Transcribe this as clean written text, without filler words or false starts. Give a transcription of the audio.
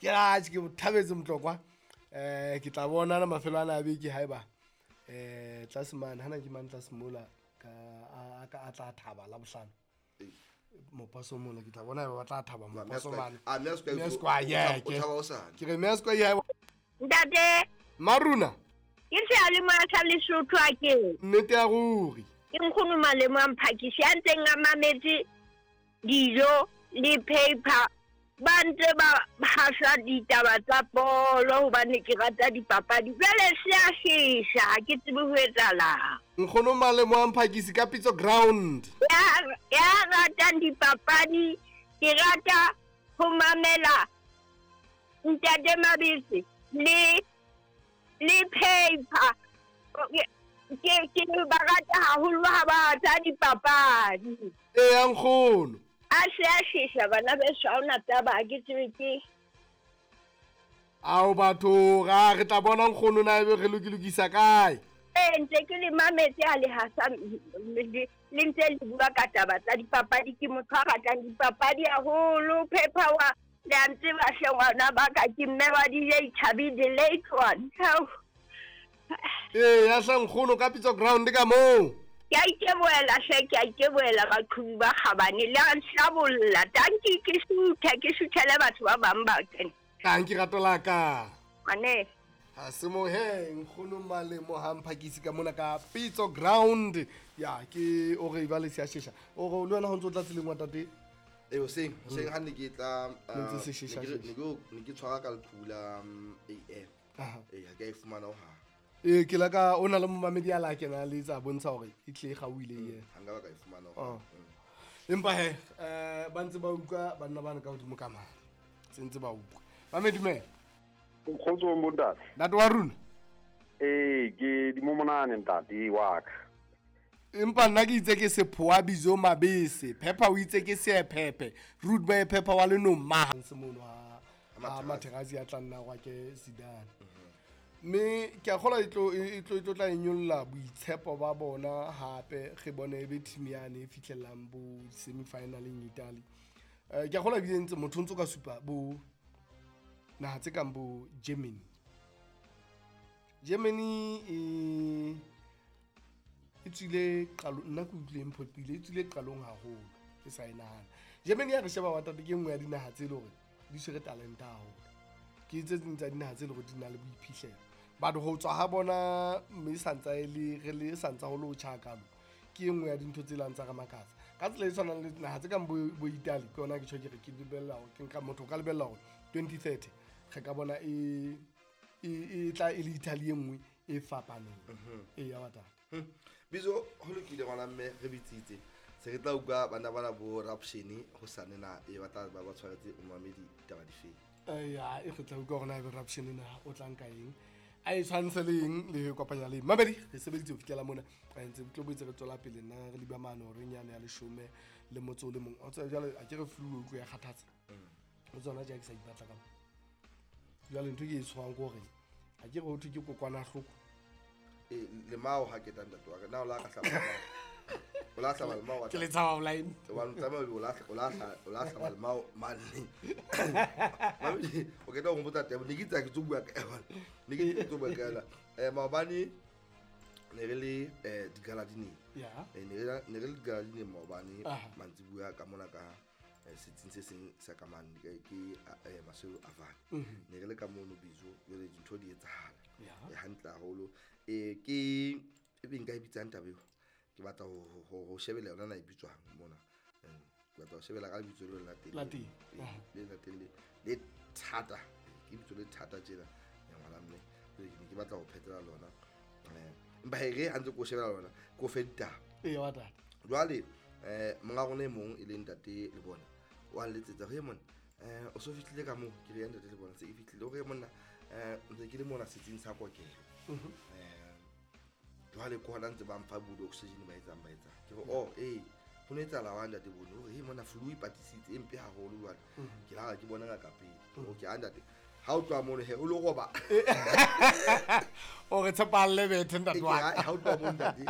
Ke atjhe ke thabetse Motlokwa. Ke tla bona na mafelo ana a beke haeba tlase mane hana ke mane tlase mola ka a tla thaba la bohlano. Mopaso mola ke tla bona haeba ba tla thaba mopaso mane. Ke re Mesko ya Ntate Maruna. Ke seyalemoya sa Lesotho a ke. Nnete ya ruri. Ke nkgono Malemo a Mphakisi a ntseng a mametse dijo le paper ba ntse ba hasa ditaba tsa bolo hobane ke rata dipapadi. Jwale se a shesha, ha ke tsebe ho etsahalang. Nkgono Malemo a Mphakisi ka Pitso Ground. Ya ratang dipapadi, ke rata ho mamela Ntate Mabese le paper. Ke ba rata haholo ha ba tsa dipapadi. Ee, nkgono. A se a shesha bana beso, ha hona taba, ha ke tsebe ke. Ao batho, ra re tla bona nkgono na ebe re lokilokisa kae? Ee, ntse ke le mametse ha le hasa le ntse le bua ka taba tsa dipapadi. Ke motho a ratang dipapadi haholo. Paper wa le a ntseba hle ngwana ba ka, ke mme wa DJ Chabi the late one. Ee, ya hle nkgono ka Pitso Ground ka moo. Ke a itebohela hle, ke a itebohela baqhubi ba kgabane. Le a nhlabolla. Tanki ke suthe, ke suthele batho ba bang ba kene. Tanki rato la ka. Mane. Ha se mo he nkgono Malemo ha Mphakisi ka mona ka Pitso Ground. Ya ke o re ba le sia shesha. O re le wena ho ntso tla tseleng wa tate. E hoseng, hoseng ha ne ke tla Ntse se shesha shesha. Ne ke tshwara ka leqhubu la AM. Ee, ha ke a e fumana ho hang. Ee, ke la ka o na le momamedi a la kena le tsa bontsha hore e tle e gauile ye. Ha nka ba ka e fumana ho hang. Empa he, ba ntse ba utlwa banna bana ka hodimo ka mane. Se ntse ba utlwa. Ba me dumela. Kgotso bontate. Ntate wa rona. Ee, ke dimomonane ntate wa ka. Empa nna ke itse ke Sephoa Bizo Mabese. Pepper o itse ke Seephephe. Rude boy Pepper wa lenong ma. Se mono ha Materazzi a tla nna gwa ke Zidane. Mme ke a kgolwa e tlo tla e nyolla boitshepo ba bona hape re bone e be team yane e fihlellang bo semi-finaleng Italy. Ke a kgolwa ebile ntse motho o ntso ka supa bo naha tse kang bo Germany. Germany e tswile qalong, nna ke utlwile e mphoqile, e tswile qalong haholo ke sa e nahana. Germany ya re sheba wa tate ke nngwe ya dinaha tse leng hore di tshwere talente haholo. Ke tse ding tsa dinaha tse leng hore di na le boiphihlelo. But ho tswa ha bona mme santsa e le re le santsa ho le ho tjha kalo, ke e nngwe ya dintho tse lang tsa re makatsa. Ka tsela e tshwanang le naha tse kang bo Italy, ke yona ke tjho ke re ke lebella hore ke nka motho o ka lebella hore 2030 re ka bona e tla e le Italy e nngwe e fapaneng. E ya batla. Bizo ho lokile ngwana mme re bitsitse. Se re tla utlwa bana bana bo Rapshene ho sane na e batla ba ba tshwaretse momamedi taba difeng. Ya e re tla utlwa hore na ebe Rapshene na o tla nka eng. A e tshwantshe le eng le ho kopanya le eng. Mamedi re sebeditse ho fihlela mona. Re ntse tlo boetse re tswela pele nna re liba mane hore nyane ya 11 le motso o le mong. O tseba jwale a ke re flu o utlwe ya kgathatsa. O tsona ja ke sa ipatla ka. Jwale ntho ke e tshwang ke hore a ke re ho thwe ke kokwanahloko. E lemao ha ke tla ntate wa ka na o la ka hlaba. O la hlaba lemao wa Ke le tshaba blind. Wa tsamaya o la o la o la hlaba lemao mane. Mame o ke tla go botsa taba ne ke tsa ke tso bua ka yona. Ne ke tso bua ka yona. Maobane ne re le digaladineng. Ya. Ne re le digaladineng maobane mantsibuya ka mona ka setsing se seng sa ka mane ke Masweu Avane. Ne re le ka mono Bizo jwale dintho di etsahala. E hantle haholo. Ke e beng ka e bitsang taba eo. Ke batla ho shebela yona na e bitswang mona. Ke batla ho shebela ka lebitso le la teng. La teng. Le la teng le thata. Ke lebitso le thata tjena. Ya ngwana mme. Ke batla ho phetela lona. Empa he re ha ntse ke o shebela lona, ke o fe ditaba. Ee, wa tata. Jwale monga rona e mong e leng ntate le bona wa letsetsa re monna o so fihlile ka moo ke re ya ntate le bona se e fihlile o re monna ntse ke le mona setsing sa kokelo. Jwale ke hona ntse ba mpha bo oxygen ba etsang ba etsang ke re oh eh ho ne etsahala wa ntate bone o re monna flu e patisitse e mpe haholo jwale ke la ke bona ngaka pele okay a ntate ha o tloha mono he o lo roba o re tshepalle bethe ntate wa ha o tloha mono ntate